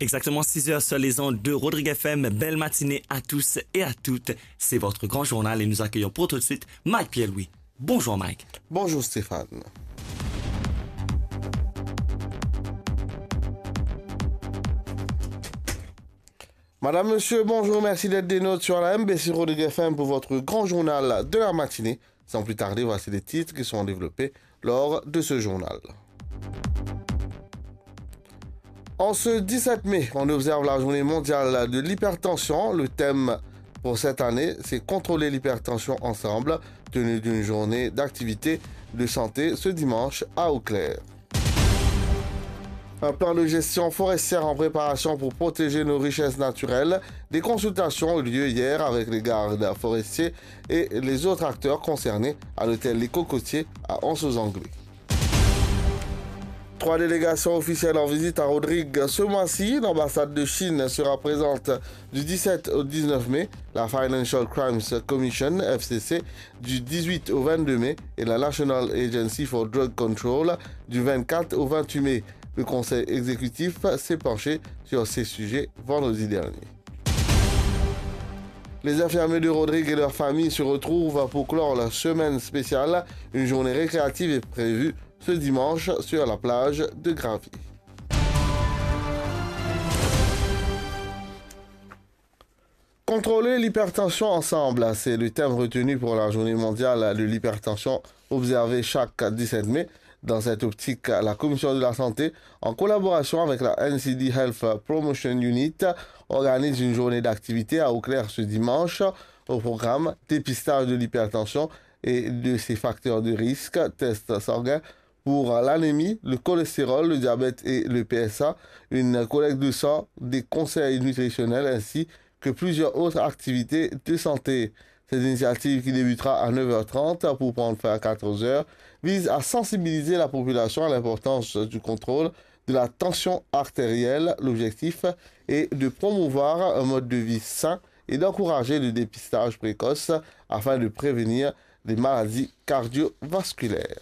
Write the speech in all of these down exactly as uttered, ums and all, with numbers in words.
Exactement six heures sur les ondes de Rodrigue F M. Belle matinée à tous et à toutes. C'est votre grand journal et nous accueillons pour tout de suite Mike Pierre-Louis. Bonjour Mike. Bonjour Stéphane. Madame, monsieur, bonjour, merci d'être des nôtres sur la M B C Rodrigue F M pour votre grand journal de la matinée. Sans plus tarder, voici les titres qui seront développés lors de ce journal. En ce dix-sept mai, on observe la journée mondiale de l'hypertension. Le thème pour cette année, c'est Contrôler l'hypertension ensemble, tenue d'une journée d'activité de santé ce dimanche à Eau-Claire. Un plan de gestion forestière en préparation pour protéger nos richesses naturelles. Des consultations ont eu lieu hier avec les gardes forestiers et les autres acteurs concernés à l'hôtel Les Cocotiers à Anse aux Anglais. Trois délégations officielles en visite à Rodrigues ce mois-ci. L'ambassade de Chine sera présente du dix-sept au dix-neuf mai, la Financial Crimes Commission, F C C, du dix-huit au vingt-deux mai et la National Agency for Drug Control du vingt-quatre au vingt-huit mai. Le Conseil exécutif s'est penché sur ces sujets vendredi dernier. Les infirmiers de Rodrigues et leurs familles se retrouvent pour clore la semaine spéciale. Une journée récréative est prévue ce dimanche sur la plage de Gravier. Contrôler l'hypertension ensemble, c'est le thème retenu pour la journée mondiale de l'hypertension observée chaque dix-sept mai. Dans cette optique, la Commission de la Santé, en collaboration avec la N C D Health Promotion Unit, organise une journée d'activité à Eau-Claire ce dimanche. Au programme, dépistage de l'hypertension et de ses facteurs de risque, tests sanguins pour l'anémie, le cholestérol, le diabète et le P S A, une collecte de sang, des conseils nutritionnels ainsi que plusieurs autres activités de santé. Cette initiative, qui débutera à neuf heures trente pour prendre fin à quatorze heures, vise à sensibiliser la population à l'importance du contrôle de la tension artérielle. L'objectif est de promouvoir un mode de vie sain et d'encourager le dépistage précoce afin de prévenir les maladies cardiovasculaires.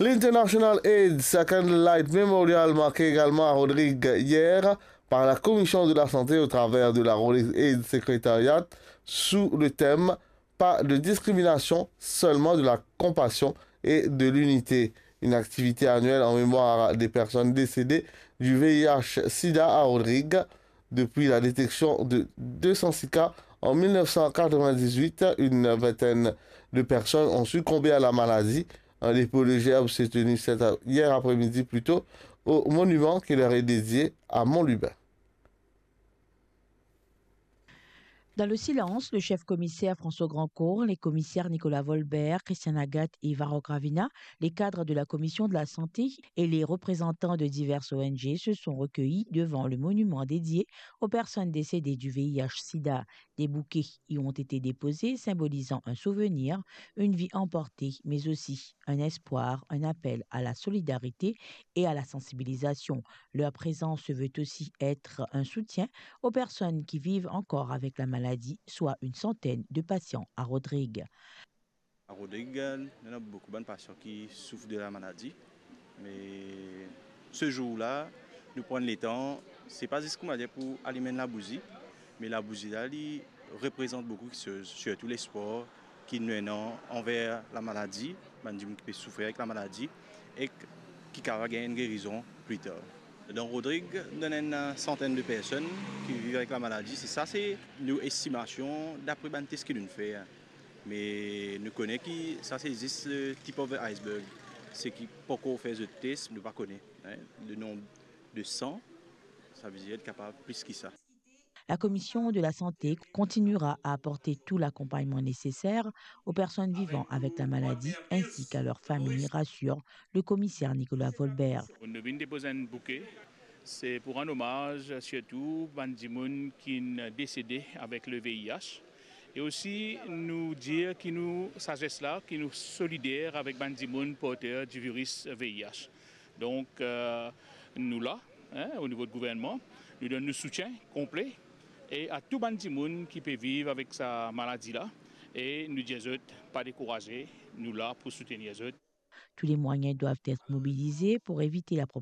L'International AIDS Candlelight Memorial, marqué également à Rodrigues hier par la Commission de la Santé au travers de la Rodrigues AIDS Secretariat sous le thème « Pas de discrimination, seulement de la compassion et de l'unité », une activité annuelle en mémoire des personnes décédées du V I H sida à Rodrigues. Depuis la détection de deux cent six cas en mille neuf cent quatre-vingt-dix-huit, une vingtaine de personnes ont succombé à la maladie. Un dépôt de gerbe s'est tenu cette, hier après-midi plutôt au monument qui leur est dédié à Mont-Lubin. Dans le silence, le chef commissaire François Grandcourt, les commissaires Nicolas Volbert, Christian Agathe et Varro Gravina, les cadres de la commission de la santé et les représentants de diverses O N G se sont recueillis devant le monument dédié aux personnes décédées du V I H sida. Des bouquets y ont été déposés, symbolisant un souvenir, une vie emportée, mais aussi un espoir, un appel à la solidarité et à la sensibilisation. Leur présence se veut aussi être un soutien aux personnes qui vivent encore avec la maladie, soit une centaine de patients à Rodrigues. À Rodrigues, il y a beaucoup de patients qui souffrent de la maladie. Mais ce jour-là, nous prenons le temps, c'est pas juste, comment dire, pour allumer la bougie, mais la bougie-là, elle représente beaucoup de choses, surtout l'espoir ki nou ena anver lamaladi, bann dimoun ki pe soufrir avek lamaladi, ek ki kapav gagn enn gerizon pli tar. Dan Rodrig, nou ena enn santenn de personn ki viv avek lamaladi. Se sa, se nou estimasion dapre bann tes ki nou fer. Me nou kone ki sa se zis, eh, tip of the iceberg. Se ki pankor fer zot tes, nou pa kone, hein, le nombre de san, sa vedir li kapav plis ki sa. La Commission de la Santé continuera à apporter tout l'accompagnement nécessaire aux personnes vivant avec la maladie ainsi qu'à leurs familles, rassure le commissaire Nicolas Volbert. Nou vinn depoz enn bouke, se pou rann omaz sirtou bann dimoun ki'nn desede avek le V I H. E osi nou dir ki nou, sa zes la, ki nou solider avek bann dimoun porter di viris V I H. Donk, eh, nou la, hein, o nivo de gouvernman, nou donn nou soutien konple e a tou bann dimoun ki pe viv avek sa maladi la, e nou dir zot, pa dekouraze, nou la pou soutenir zot. Tous les moyens doivent être mobilisés pour éviter la